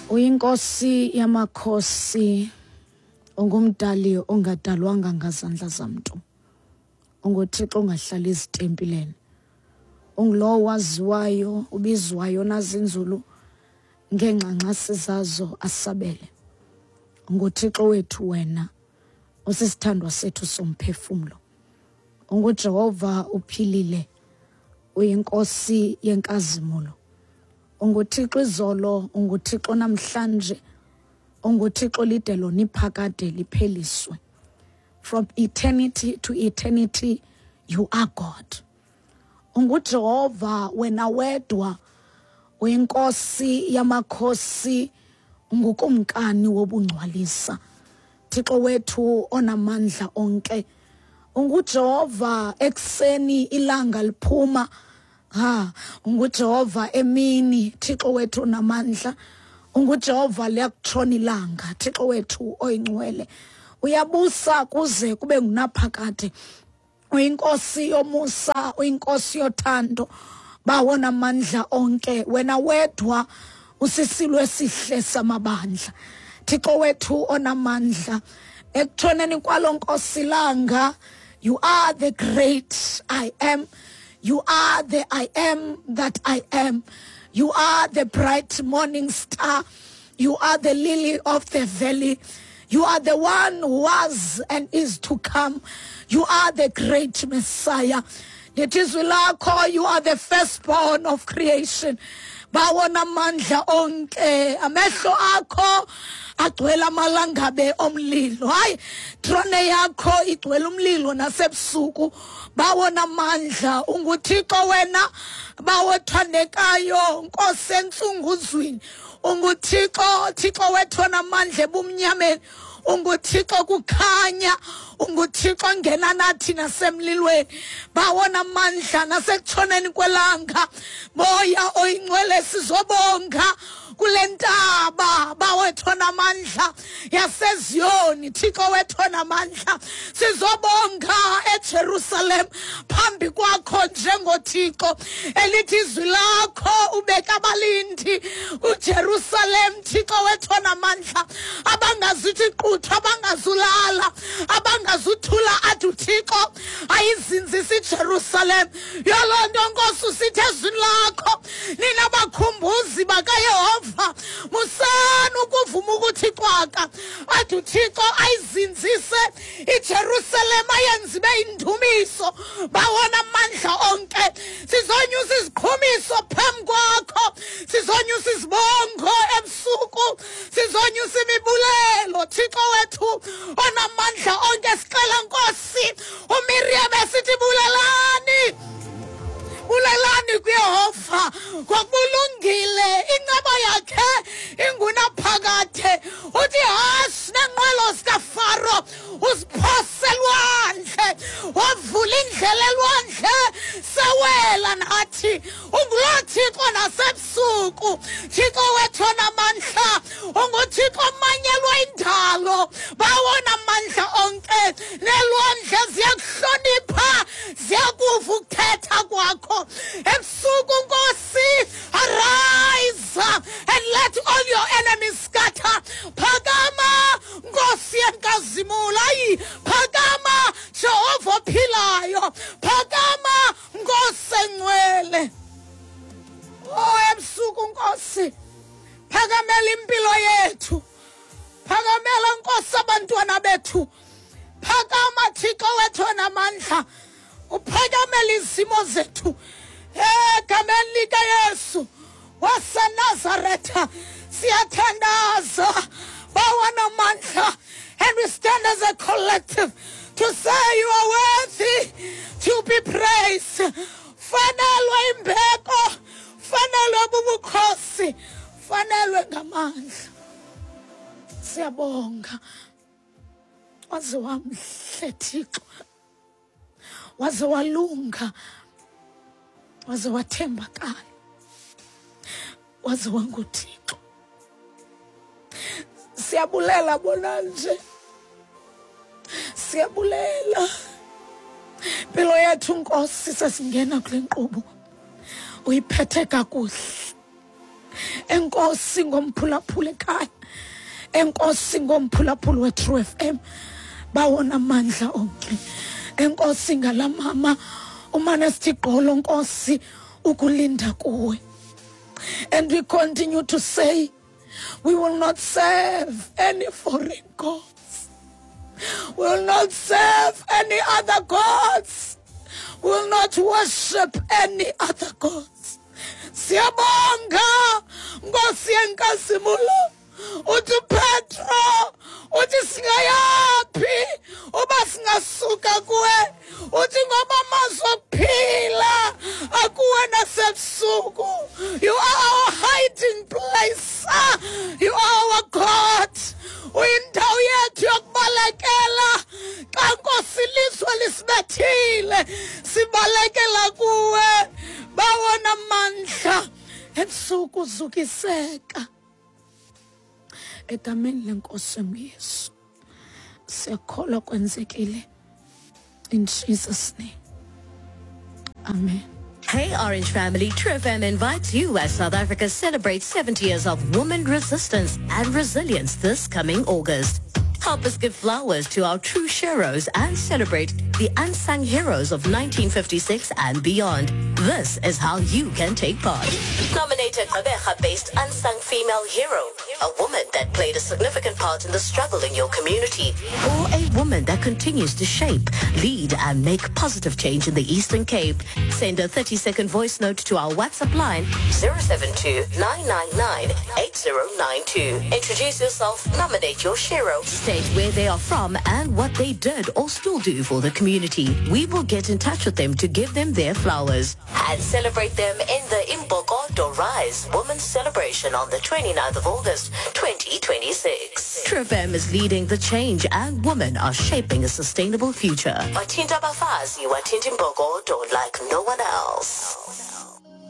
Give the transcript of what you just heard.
Uyinkosi yamakhosi, ungumdali ongadalwanga ngazandla zamntu. UnguThixo ongahlali ezitempileni. Ungulowo waziwayo, ubizwayo nazinzulu ngeengxangxasi zazo asabele. UnguThixo wethu wena, usisithandwa sethu somphefumlo. UnguJehova uphilile, uyiNkosi yenkazimulo. UnguThixo izolo, unguThixo namhlanje, unguThixo lide lona iphakade lipheliswe. From eternity to eternity, you are God. UnguJehova wena wedwa, uyinkosi yamakhosi, ungukumkani wobungcwalisa. Thixo wethu onamandla onke. UnguJehova ekuseni ilanga liphuma. Ha, unguJehova emini, Thixo wethu onamandla. UnguJehova liyakutshona ilanga, Thixo wethu oyingcwele. Uyabusa kuze kube ngunaphakade. Uyinkosi yomusa, uyinkosi yothando. Bawo namandla onke, wena wedwa usisilo esihle samabandla. Thixo wethu onamandla, ekutshoneni kwalo nkosi langa, you are the great I am. You are the I am that I am. You are the bright morning star. You are the lily of the valley. You are the one who was and is to come. You are the great Messiah. Ndithi izwi lakho, you are the firstborn of creation. Bawona amandla onke, amehlo akho agcwele amalangabe omlilo. Hayi, trone yakho igcwele umlilo nasebusuku. Bawona amandla, unguThixo wena, bawothandekayo, Nkosi entsunguzwini. UnguThixo, Thixo wethu onamandla ebumnyameni. UnguThixo kukhanya, unguThixo ongena nathi nasemlilweni. Bawona amandla nasekutshoneni kwelanga. Moya oyingcwele sizobonga kule ntaba, bawethu onamandla yaseZiyoni, Thixo wethu onamandla. Sizobonga eJerusalem phambi kwakho njengoThixo. Elithi izwi lakho ubeka abalindi kuJerusalem, Thixo wethu onamandla, abangazuthi quthu, abangazulala, abangazuthula athi uThixo ayizinzisa iJerusalem. Yoloo nto Nkosi usithi ezwini lakho, nina bakhumbuzi bakaYehova, musani ukuvuma ukuthi cwaka, athi uThixo ayizinzise iJerusalem, ayenze ibe yindumiso. Bawona amandla onke, sizonyusa iziqhumiso phambi kwakho, sizonyusa izibongo ebusuku, sizonyusa imibulelo. Thixo wethu onamandla onke, sicela Nkosi uMiriam esithi bulelani, bulelani kuYehova ngokulungile, inceba yakhe ingunaphakade. Uthi hashi nenqwelo zikaFaro uziphose elwandle, wavula indlela elwandle, sewela nathi. Unguloo Thixo nasebusuku, Thixo wethu onamandla, unguThixo omanyelwa indalo. Bawona amandla onke, nelwandle ziyakuhlonipha, ziyakuva ukuthetha kwakho ebusuku. Nkosi, arise and let all your enemies scatter. Phakama Nkosi yenkazimulo, ayi phakama Jehova ophilayo, phakama Nkosi engcwele. Oh, ebusuku Nkosi, phakamela impilo yethu, phakamela Nkosi abantwana bethu, phakama Thixo wethu onamandla, uphakamela izimo zethu egameni likaYesu waseNazaretha. Siyathandaza bawanamandla, and we stand as a collective to say you are worthy to be praised. Fanelwe imbeko, fanelwe bubukhosi, fanelwe ngamandla. Siyabonga, waze wamhle Thixo, waze walunga, waze wathembakala, waze wanguThixo. Siyabulela bona nje, siyabulela impilo yethu Nkosi. Sesingena kule nkqubo, uyiphethe kakuhle. Enkosi ngomphulaphula ekhaya, enkosi ngomphulaphula we-True FM, bawona amandla onke. Enkosi ngala mama umane sithi gqolo, Nkosi, ukulinda kuwe. And we continue to say we will not serve any foreign gods. We will not serve any other gods. We will not worship any other gods. Siyabonga Nkosi yenkazimulo. Uthi Petro, uthi singayaphi uba singasuka kuwe? Uthi ngoba amazwi okuphila akuwe nasebusuku. You are our hiding place. You are our God. Uyindawo yethu yokubalekela. Xa Nkosi ilizwe lisibethile, sibalekela kuwe. Bawona mandla ebusuku zukiseka. Egameni lenkosi enguYesu siyakholwa kwenzekile. In Jesus' name, amen. Hey Orange family, True FM invites you as South Africa celebrates 70 years of woman resistance and resilience this coming August. Help us give flowers to our true sheroes and celebrate the unsung heroes of 1956 and beyond. This is how you can take part. Nominate a Gqeberha-based unsung female hero, a woman that played a significant part in the struggle in your community, or a woman that continues to shape, lead, and make positive change in the Eastern Cape. Send a 30-second voice note to our WhatsApp line 072-999-8092. Introduce yourself, nominate your shero, state where they are from and what they did or still do for the community. We will get in touch with them to give them their flowers and celebrate them in the Imbokodo Rise Women's Celebration on the 29th of August, 2026. True FM is leading the change and women are shaping a sustainable future. Wathinta abafazi, wathinta imbokodo like no one else.